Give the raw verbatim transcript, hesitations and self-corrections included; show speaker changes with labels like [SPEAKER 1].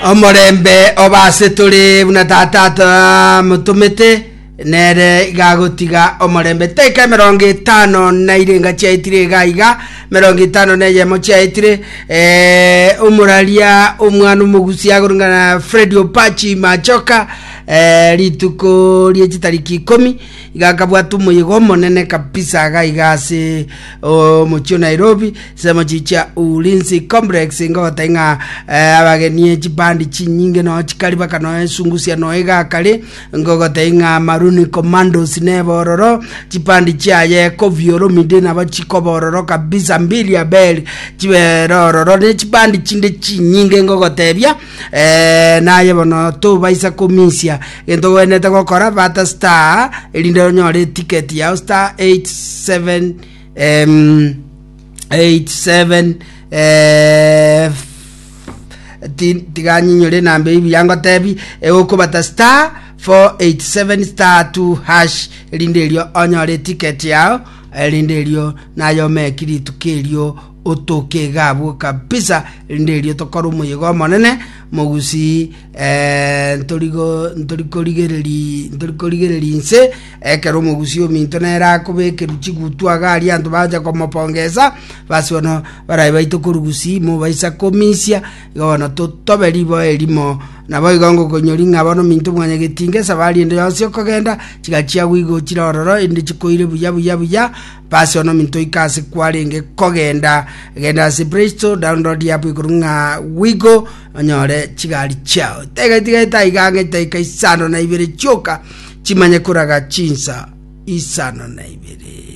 [SPEAKER 1] Omorembe obase tore buna tata atamotomete nere igagotiga omorembe. Taika emerongo etano na irenga chiaetire iga iga merongo etano na eyemo chiaetire. eh, omoraria omwana omogusi agorungana Fredi Opachi Machoka, eh, rituko rie chitariki ikomi iga akabwata omoyega omonene kabisa iga iga ase omochie o Nairobi, ensemo chichia Ulinzi Complex. Ngogotebia ng'a eh, abageni chibandi chinyinge noo chikari baka noo esungusia noo iga akare. Ngogotebia ng'a Maruni Commandos nebe ororo, chibandi chiaye Koffi Olomide nabo chikoba ororo kabisa, Mbilia Bel chibere ororo ne chibandi chinde chinyinge. Ngogotebia eh, naye bono tobaisa komisia gento ogwenerete gokora, bata star erinde onyore eticket yao, star eight seven em, eight seven eh, ti- tiganyinyore enamba eyi buya. Ngotebi egokobata star four eight seven star two hash erinde erio onyore eticket yao, erinde erio naye omeki rituko erio otoke iga abwo kabisa, erinde erio tokore omoyega omonene mogusi. eh, ntorigo ntorikorigereri ntorikorigereri inse ekero omogusi ominto nere akobekerwa chigutu iga aria anto bacha komopongeza. Basi bono barai baito korugusi mobaisa komisia igo bono totobe riboa erimo. Nabo igo ngokonyori ng'a bono minto mwanyagetinga esabari ende yonsi okogenda chigachia wigo chire ororo ende chikoire buya buya buya. Basi ono minto oika ase kwarenge kogenda, genda ase Play Store, download app igoro ng'a Wigo, onyore chigari chiao. Tega tigaeta iga ang'e taika isano na ibere chioka chimanye koraga chinsa isano na ibere.